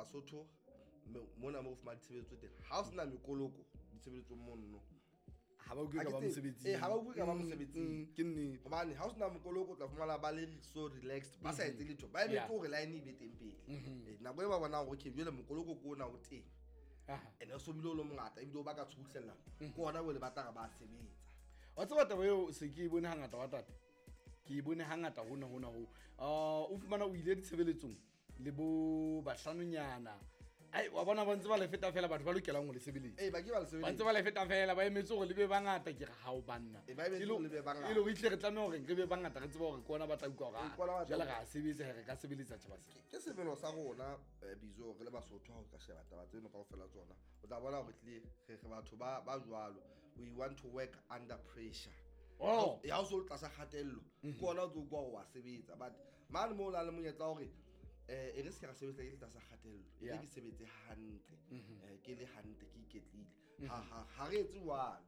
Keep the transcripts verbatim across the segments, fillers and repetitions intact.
Basotho mona mo fumana ditshebeletso teng ha o sena mekoloko ditshebeletsong mono ha ba utlwe ka ba mosebetsing eh ha ba utlwe ka ba mosebetsing ke nnete hobane ha o sena mokoloko o tla fumana ba le so relaxed ba sa etse letho ba emetse hore line e be teng pele eh nako e ba bonang hore okay jwale mokoloko ke ona o teng ene o so bile o le mongata ebile o ba ka tshuhlela ke ona bo le batla ba sebetsa wa tseba taba eo se ke e bone hangata wa tate ke e bone hangata hona hona ho ah o fumana o ile ditshebeletsong le bo bahlanonyana ai wa bona ba ntse ba le feta fela batho ba lokelang ho le sebeletsa eh ba ke ba le sebeletsa ba ntse ba le feta fela ba emetse hore le be bangata ke re ha o banna e ba emetse le be bangata e le hore itle re tlameha hore re be bangata re tseba hore ke ona ba tla utlwa hore jwale ra sebetsa re ka sebeletsa tjhaba se ke semelo sa rona Bizo re le Basotho ha o ka sheba taba tseno kaofela tsona o tla bona hore tle re re batho ba ba jwalo we want to work under pressure oh ya o so tlasa kgatello ke ona o tlo kwa wa sebetsa but mane mo o na le monyetla hore eh e re se ka sebetsa ke tlasa kgatello e ke sebetse hantle eh ke le hantle ke iketlile ha ha ha re etse jwalo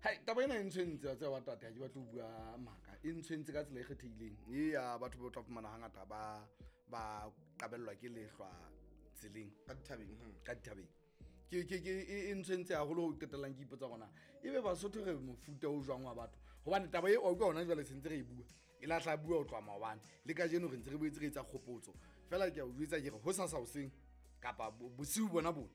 hai taba ena e ntshwentse wa tseba wa tate ha ke batle ho bua maka e ntshwentse ka tsela e kgethehileng e ya batho ba tla fumana hangata ba ba qabellwa ke lehlwa tseleng ka dithabeng ka dithabeng ke ke ke e ntshwentse haholo ho qetellang ke ipotsa gona ebe Basotho re mofuta o jwang wa batho hobane taba e o ka hona jwale sentse re e bua e la tla bua o tloha maobane le kajeno re ntse re boetse re etsa kgopotso fela ke a o jwetsa ke re ho sasa hoseng kapa bosiu bona bona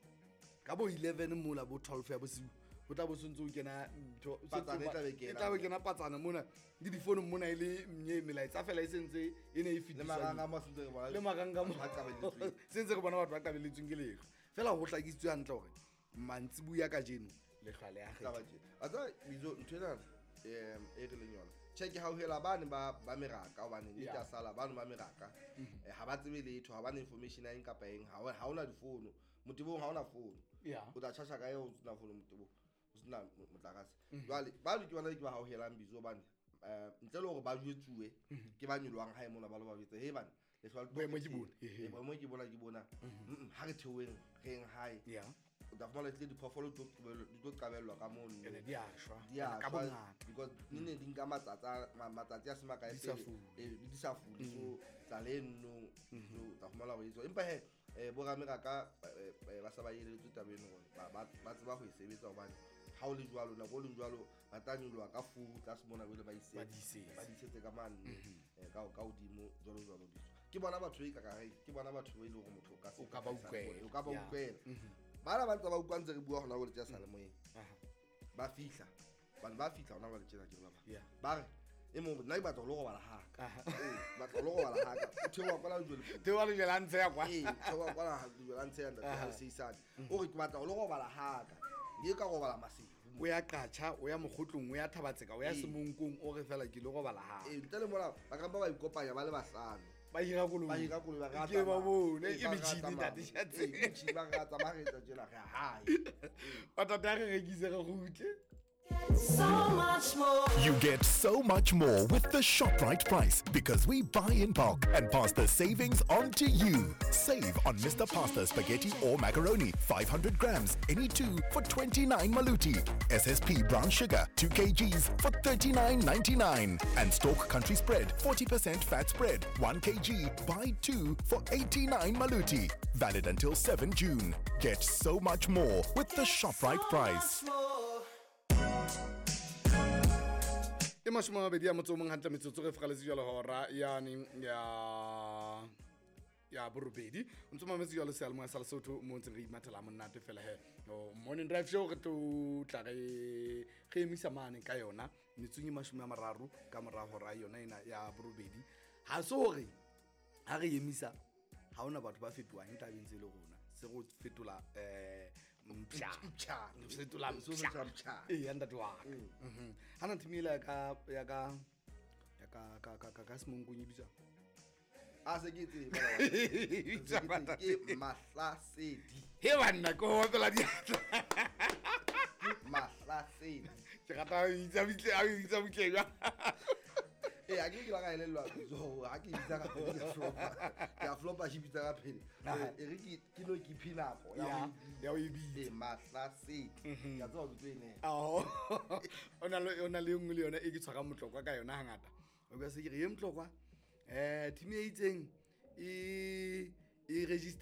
ka bo eleven mola bo twelve ya bosiu ho tla bo sontse o kena ntho patsana e tla be kena e tla be kena patsana mona le difono mona e le nnye melaetsa fela e sentse e ne e fetiswa le maranga mo sentse re bona le maranga mo ba qabelletsweng sentse re bona batho ba qabelletsweng ke lehlwa fela ho hlakisitswe hantle hore mantsibuya kajeno lehlwa le a kgetha a tsa Bizo ntho ena em e re leng yona check ha o hela bane ba ba meraka hobane ne tla sala bane ba meraka ha ba tsebe letho ha ba na information ya eng kapa eng ha ha ona difono motebong ha ona fono o tla tjhatjha ka eo o sena fono motebong o sena motlakase jwale ba ke bona ke ba hauhelang Bizo bane eh ntle le hore ba jwetsuwe ke ba nyolwang hae mona ba lo ba jwetse he bane lehlwa le boemo ke bona boemo ke bona ke bona ha re theoeng re eng hae o tla fumana tle diphoofolo di tlo qabellwa ka mono ene di a shwa ka bongata because ne ne di nka matsatsi matsatsi a se makae pele di sa fule so tla le nno so tla fumana hore etso empa he bo rameraka ba sa ba eletswe taba eno hore ba tseba ho e sebetsa hobane ha o le jwalo nako o le jwalo ba tla nyoloha ka furu tlase mona jwale ba ise ba disetse ka mane ka ka hodimo jwalo jwalo Bizo ke bona batho e ka ka ke bona batho ba ile hore motho o ka o ka ba utlwela o ka ba utlwela bana ba ntse ba utlwa ntse re bua hona jwale tsa salemoyeng ba fihla bana ba fihla hona jwale tjena ke ba ba re e mong nna ke batla ho lo robala haka ee batla ho lo robala haka o theoha kwala lejwe theoha lejwe la ntshe ya kwa ee theoha kwala lejwe la ntshe ya ntate ha seisane o re ke batla ho lo robala haka ke ka robala masiu o ya Qacha o ya Mokgotlong o ya Thabatseka o ya Semonkong o re fela ke lo robala haka ee ntle le mola ba ka ba ba ikopanya ba le bahlano ba hira koloi ba hira koloi ba ke ba bone ke metjhini ntate Shatse ee metjhini ba re tsamaya re etsa tjena re hae ba tata re rekise re kgutle. So much more. You get so much more with the ShopRite price because we buy in bulk and pass the savings on to you. Save on Mister Pasta spaghetti or macaroni, five hundred grams, any two for twenty-nine maluti. S S P brown sugar, two kilograms for thirty-nine ninety-nine. And Stork Country Spread, forty percent fat spread, one kilogram, buy two for eighty-nine maluti. Valid until seventh June. Get so much more with the ShopRite so price. Much more. E mashome a mabedi a motso o mong hantle metsotso re fgaletse jwalo hora yane ya ya borobedi o ntse mametse jwalo seyalemoya sa Lesotho mo ntseng re imathela monate fela he morning drive show re tlo tla re re emisa mane ka yona metsong e mashome a mararo ka mora hora yona ena ya borobedi ha se hore ha re emisa ha ona batho ba fetohang tabeng tse le rona se go fetola eh mpsha mpsha fetola mpsha e ya ntate wa ka mhm hana thimela ka ya ka ya ka ka ka ka Semonkong e bitswa a se ke tseba ke Mahlasedi he banna ko opela diatla Mahlasedi ke rata ho itsa bitle a itsa butle jwa eh a ke ke la ka elellwa so ha ke bitsa ka pele ke flopa ke a flopa ke bitsa ka pele e re ke ke no ke phinako ya ya o e bitsa e Mahlasedi ke a tseba ke tlo ene aho ona le ona le nngwe le yona e ke tshwara motlokwa ka yona hangata o ka se ke re ye motlokwa eh team e itseng e e register